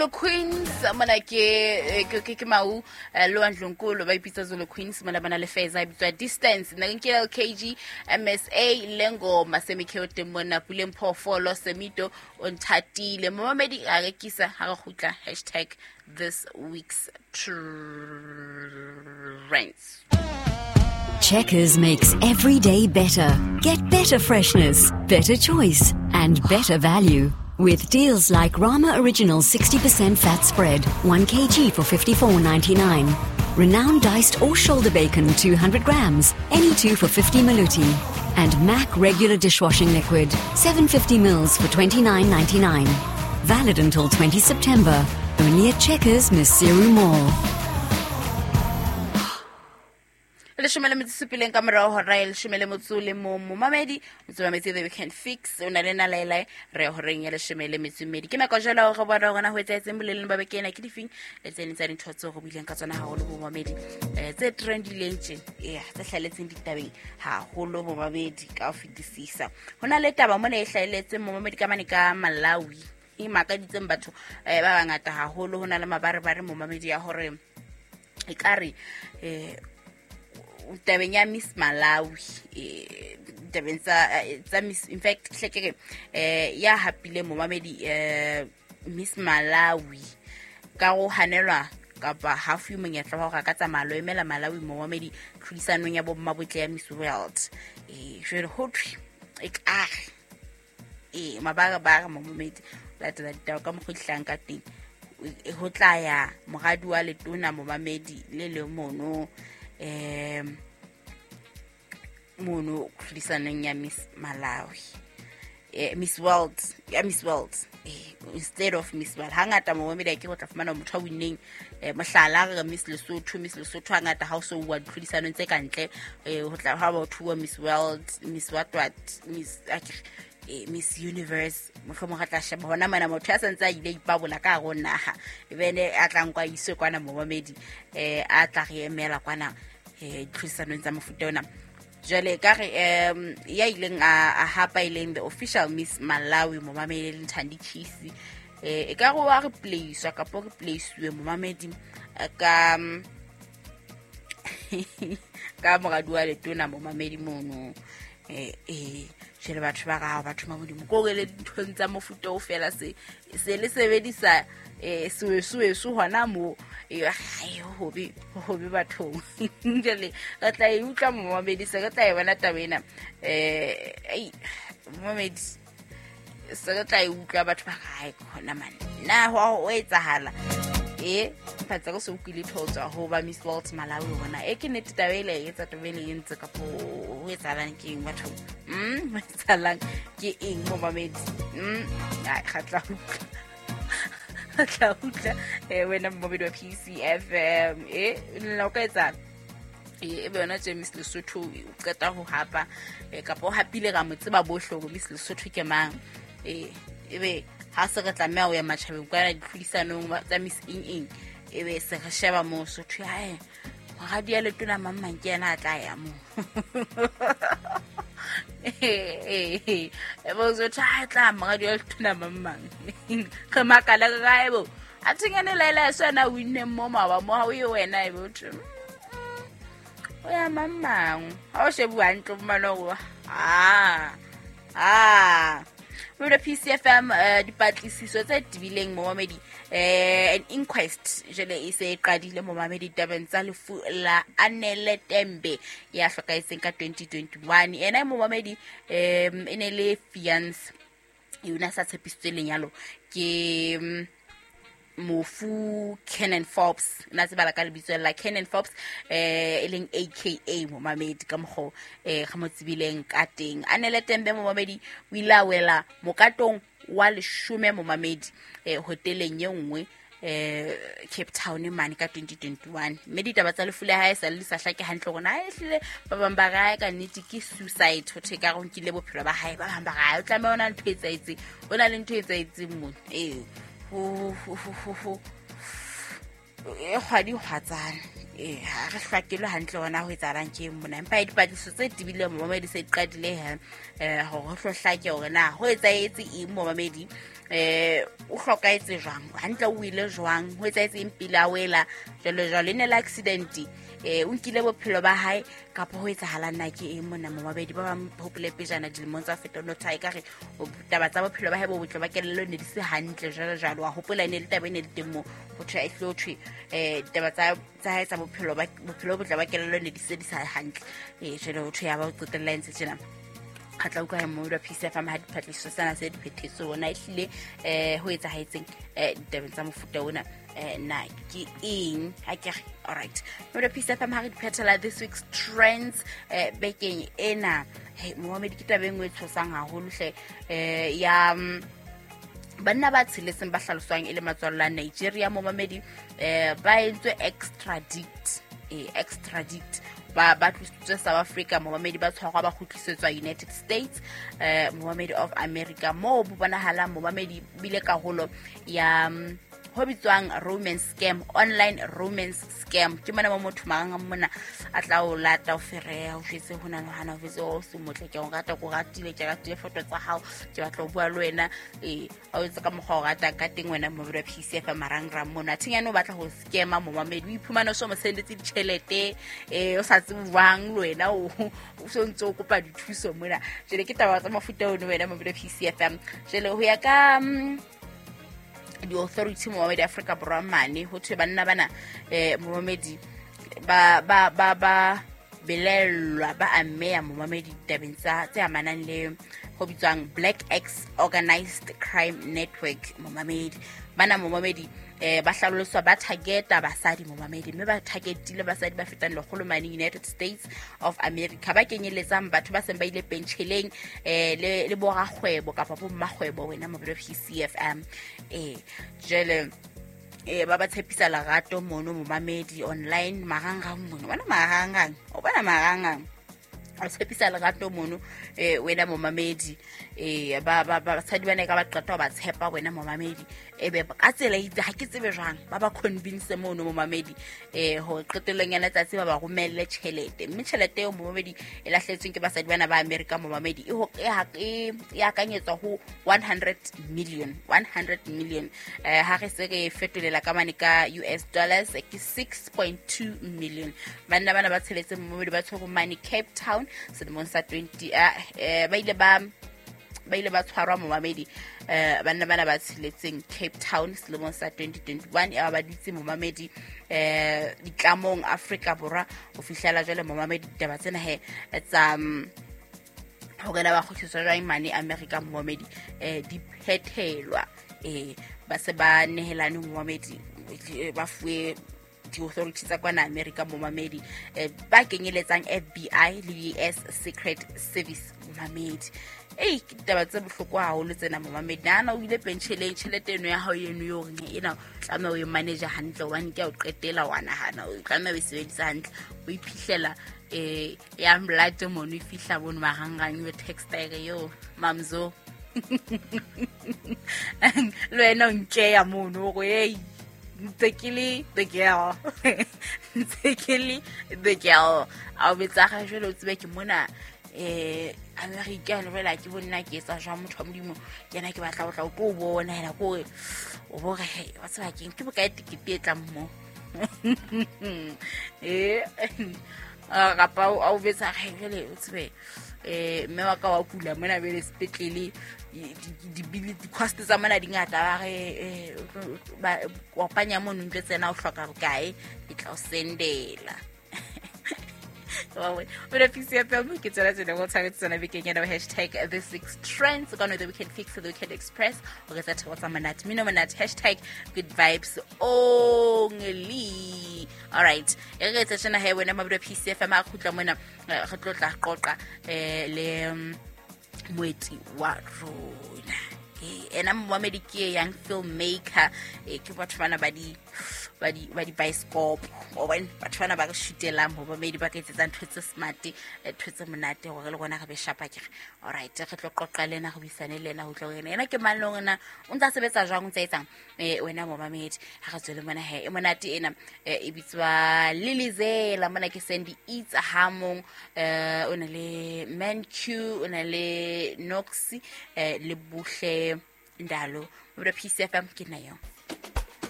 Zulu Queens mona ke mau lo Ndlunkulu ba ipitsa Zulu Queens mona bana le Feza e bitswa Distance. Nna ke LKG MSA lengoma semikhe teng mona Puleng Phoofolo Semito o nthatile. Momamedi a rekisa ha re kgutla #thisweek's trends. Checkers makes every day better. Get better freshness, better choice, and better value. With deals like Rama Original 60% fat spread, 1 kg for $54.99. Renowned diced or shoulder bacon, 200 grams, any two for 50 maluti. And Mac regular dishwashing liquid, 750 mils for $29.99. Valid until 20 September. Only at Checkers, Maseru Mall. 17 ka morao hora ya 13 le momamedi o tsomametse The Weekend Fix o na le nalaelae re ya horeng ya 12. Ke nako jalo go bona gona ho etsahetseng boleleng ba beke ena ke difeng le tse ding tsa dintho tseo go buileng ka tsona haholo bomamedi tse trendileng tje ea tse hlaheletseng ditabeng haholo bomamedi ka ho fetisisa. Ho na le taba mona e hlaheletseng momamedi ka mane ka Malawi e makaditseng batho ba bangata haholo. Ho na le mabarebare momamedi ya hore ekare tabeng ya Miss Malawi tabeng tsa Miss, in fact hlekere ya hapile momamedi Miss Malawi ka go hanelwa kapa hafu monyetla wa hore a ka tsamaya lo emela Malawi momamedi tlhodisanong ya bomma botle ya Miss World. Jwale ho thwe ekare mabarebare momamedi latela ditaba ka mokgwa di hlahang ka teng ho tla ya moradi wa letona momamedi le le mono mono tlhodisanong ya Miss Malawi Miss World ya Miss World instead of Miss World. Hangata momamedi a ke go tla fumana motho a winneng mohlala re Miss Lesotho, Miss Lesotho hangata ha o so wa ditlhodisanong tse kantle ho tla ha ba thuwa Miss World, Miss what what, Miss Miss Universe mohlomong re tla sheba hona mana motho ya santse a ile ipabola ka hare ho naha ebene a tla nkwa iswe kwana momamedi a tla re emela kwana ditlhodisanong tsa mofuta ona. Jwale ka re ya ileng a hapa ileng the official Miss Malawi momamedi le Thandi Chisi e ka re wa re placewa kapa re placewe momamedi ka ka moradi wa letona momamedi mono jwale batho ba ga batho ba modimo ko le dinthong tsa mofuta o fela se le sebedisa seweso hona mo hobe hobe bathong. Jwale re tla e utlwa momamedi se re tla e bona taba ena momamedi se re tla e utlwa batho ba gae khona man na ho etsahala phatsa go se utlwile thotswa ho ba Miss World Malawi bona ke nnete taba ele e etsa taba ele e ntse kapo ho etsahalang ke eng batho ho etsahalang ke eng momamedi ga tla utlwa wena momamedi wa PCFM nna o ka etsang e be yona tje Miss Lesotho o qeta ho hapa kapa o hapile ka mo tseba bohle hore Miss Lesotho ke mang ebe ha se re tlameha ho ya matjhabeng kwana ditlhodisanong tsa Miss eng eng ebe se re sheba mo Sotho hae moradi ya letona mang mang ke yena a tla ya mo ebe Sotho ha tla moradi ya letona mang mang re makala re kae bo a thengane laela sona winne mo mawa mo ha o ye wena ebe o thwe o ya mang mang ha o shebuwa hantle fumana hore Mona PCFM dipatlisiso tse tebileng momamedi an inquest jwale e se e qadile momamedi tabeng tsa lefu la Anele Tembe ya hlokahetseng ka 2021. Ena momamedi e ne le fiance yona sa tshepisitswe lenyalo ke mofu Kenan Forbes na tsebala ka lebitso la Kenan Forbes e leng AKA momamedi ka mokgo re mo tsebileng ka teng. Anele Tembe momamedi o ile a wela mokatong wa 10 momamedi hoteleng e nngwe Cape Town mane ka 2021. Mme ditaba tsa lefu la hae sa le sa hlake hantle hore na ehlile ba bang ba re ka nnete ke suicide ho thwe ka re nkile bophelo ba hae, ba bang ba re o tlameha ho na ntho e etsahetseng, ho na le ntho e etsahetseng mona ho e kgwadi hwatsana Ha re hlakelwe hantle hona ho etsahalang ke eng mona, empa dipatlisiso tse tebileng momamedi se di qadile he hore ho hlo hlake hore na ho etsahetse eng momamedi, o hlokahetse jwang hantle, o ile jwang, ho etsahetse eng pele a wela, jwalo jwalo, e ne le accident, o nkile bophelo ba hae kapa ho etsahalang na ke eng mona momamedi. Ba bang hopole pejana dilemong tsa feta no tha ekare taba tsa bophelo ba hae bo botle ba kelello ne di se hantle jwalo jwalo, wa hopola e ne le taba e ne le teng moo ho thwe e tlo thwe ditaba tsa hae tsa bophelo ba bophelo bo botle ba kelello ne di se di sa hantle, jwale ho thwe ya ba o qetella e ntse tjena. Re tla utlwa momamedi wa PCFM ha dipatlisiso tsena se di phethetswe ona ehlile ho etsahetseng ditabeng tsa mofuta ona na ke eng ha ke re. Alright, momamedi wa PCFM, ha re di phethela this week's trends bekeng ena, hey momamedi, ke taba e nngwe e tshosang haholo hle, ya banna ba tsheletseng ba hlaloswang e le matswallo a Nigeria momamedi, ba entswe extradite, extradite ba tlositswe South Africa momamedi, ba tshwarwa ba kgutlisetswa United States momamedi of America, moo bo bonahalang momamedi bile karolo ya ho bitswang romance scam, online romance scam. Ke mona mo motho mang mona a tla o lata o fereha, o jwetse ho na le hana, o jwetse o se motle, ke o rata, ke o ratile, ke ratile foto tsa hao, ke batla ho bua le wena, a o etse ka mokgwa o ratang ka teng wena momamedi wa PCF marangrang mona. Thinyane o batla ho scama momamedi, o iphumana o so mo sendetse ditjhelete, o sa tsebe jwang le wena o so ntse o kopa dithuso mona. Jwale ke taba tsa mofuta ono wena momamedi wa PCFM. Jwale ho ya ka di-authority momamedi Afrika Borwa mane, ho thwe banna bana momamedi ba ba ba ba belellwa ba ameya momamedi ditabeng tsa tse amanang le ho bitswang Black X Organized Crime Network momamedi. Bana momamedi ba hlaloswa ba targeta basadi momamedi, mme ba targetile basadi ba fetang lekgolo mane United States of America, ba kenyeletsang batho ba seng ba ile pentjheleng le borakgwebo kapa bo mmakgwebo wena momamedi wa PCFM. Jwale ba ba tshepisa lerato mono momamedi online marangrang mono, bona marangrang, o bona marangrang, o tshepisa lerato mono wena momamedi, ba ba basadi bana ka ba qeta ho ba tshepa wena momamedi, ebe ka tsela itse ha ke tsebe jwang ba ba convince mono momamedi, hore qetellong ya letsatsi ba ba romelle tjhelete, mme tjhelete eo momamedi e lahletsweng ke basadi bana ba America momamedi e akanyetswa ho 100 million, 100 million, ha re se re fetolela ka mane ka US dollars ke 6.2 million. Banna bana ba tsheletse momamedi ba tshwerwe mane Cape Town selemong sa 20 ba ile ba tshwarwa momamedi, banna bana ba tsheletseng Cape Town selemong sa 2021, ya ba dutse momamedi ditlamong Afrika Borwa ho fihlela jwale momamedi. Ditaba tsena he tsa hore na ba kgutliswa jwang mane America momamedi, di phethelwa, ba se ba nehelane momamedi, ba fuwe di-authority tsa kwana America momamedi, ba kenyeletsang FBI le US Secret Service momamedi. Ei, ke ditaba tse bohloko haholo tsena momamedi. Nahana o ile pentjheleng, tjhelete eno ya hao eno eo reng ena o tlameha o e manage hantle, hobane ke ya o qetela wa nahana o tlameha o e sebedisa hantle, o iphihlela ya mlate mono e fihla mono marangrang, e textile yo mamzo le wena o nkeya mono hore ei ntse ke le the girl, ntse ke le the girl, a o betsa ga jwale o tsebe ke mona America le jwale ke bonna ke etsa jwang motho wa Modimo, ke yena ke batla ho tla o tlo bona yena, ke hore o bo re wa tseba keng ke bokae tekete e tlang mo kapa a o betsa ga jwale o tsebe mme wa ka wa kula mona bele sepetlele, di-cost tsa mona di ngata, ba re kopanya mono ntlo tsena o hloka bokae, ke tla o sendela. Wena PCFM ke tsela tsena go tshwanetse tsena bekeng ena hashtag this week's trends ka no the weekend fix, the weekend express, o re tsa theko tsa monate mino monate hashtag good vibes only. All right, e re tsa tsena he wena mabidi PCFM a khutla mona re tlo tla qoqa le moeti wa rona. Ena momamedi ke young filmmaker, ke batho bana ba di ba di ba di bioscope o bone, batho bana ba re shutelang momamedi, ba ka etsetsang ntho tse smart, ntho tse monate gore le rona re be shapa kere. Alright, re tlo qoqa le ena, re buisane le ena ho utlwa hore ena ke mang le hore na o ntse a sebetsa jwang, o ntse a etsang. Wena momamedi, ha re tswele mona he, e monate ena, e bitswa Lilizela. Mona ke Sandy Eats hamong, o na le Manq, o na le Nox, le Buhle Ndalo. Mo PCFM ke nna yo.